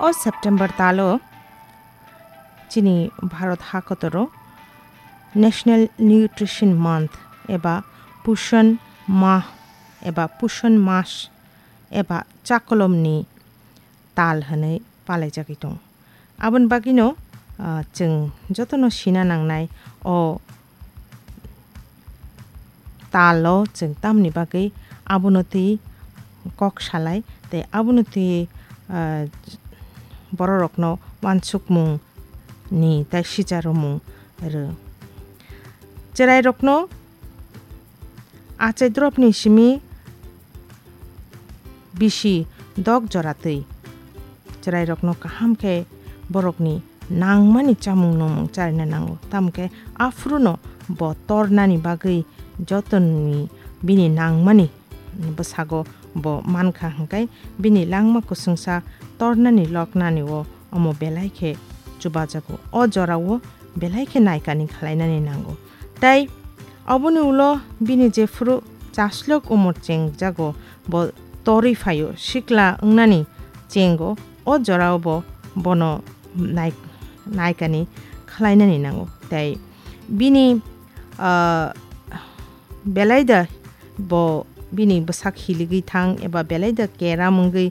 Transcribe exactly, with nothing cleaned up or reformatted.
O September talo chini Bharat hakotoro National Nutrition Month eba Pushan Mah eba Pushan Mas eba chakolomni tal hwnwi palaijagwi tongo. Aboni bagwino, ah, chwng jotono sina nangnai o talo chwng tamni bagwi abono twi kok salai tei abono twi, ah, bororokno uansukmung ni tei sicha rwmung rw. Chwrairokno achai dropni simi bisi dok jora twi. Chwrairokno kaham khe borokni nangmani chamung nungmung charina nango. Tamo khe aphuru no bo tornani bagwi jotoni bini nangmani bwsago bo mankha hwnkhe bini langma kusungsa tornani loknani o omo belai khe chubajago. O jorao belai khe naikani khlainani nango. Tei oboni ulo bini jephuru chaslok umor chengjago bo torwi phaio sikla wngnani chengo o jorao bo bono nai-, naikani khlainani nango. Tei bini, ah, belai da bo bini bwsak hiligwi thang eba belai da keram wngwi